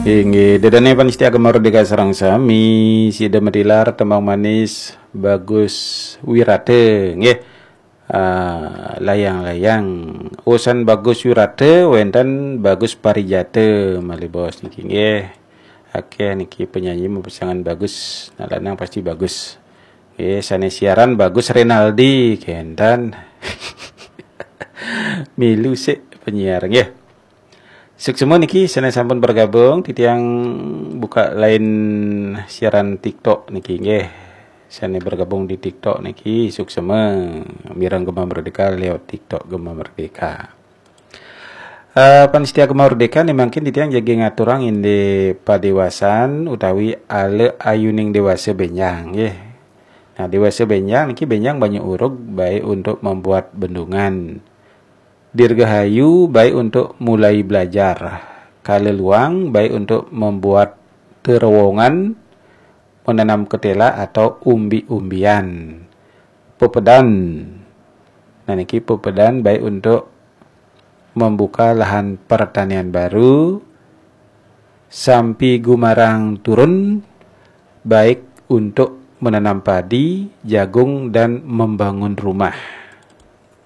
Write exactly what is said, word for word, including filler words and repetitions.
Inggih, ida dané pamiarsa Gema Merdeka sareng sami, sida matilar tembang manis Bagus Wirata, nggih. Ah, layang-layang. Usan Bagus Wirata, wénten Bagus Parijata malih bos niki, nggih. Akéh niki penyanyi mapasangan Bagus, nah lanang pasti Bagus. Nggih, sané siaran Bagus Renaldi, kénten. Milu sik penyiar, nggih. Suksma niki sané sampun bergabung, titiang buka line siaran TikTok niki, nggih. Sané bergabung di TikTok niki, suksma mireng Gema Merdeka lewat TikTok Gema Merdeka. Eh, pamiarsa Gema Merdeka, niki mangkin titiang jaga ngaturang indik padéwasan utawi ala ayuning déwasa bénjang, nggih. Nah, déwasa bénjang niki bénjang banyu urug, baik untuk membuat bendungan. Dirgahayu, baik untuk mulai belajar. Kaleluang, baik untuk membuat terowongan, menanam ketela atau umbi-umbian. Pepedan. Nah, niki pepedan baik untuk membuka lahan pertanian baru. Sampi Gumarang turun, baik untuk menanam padi, jagung, dan membangun rumah.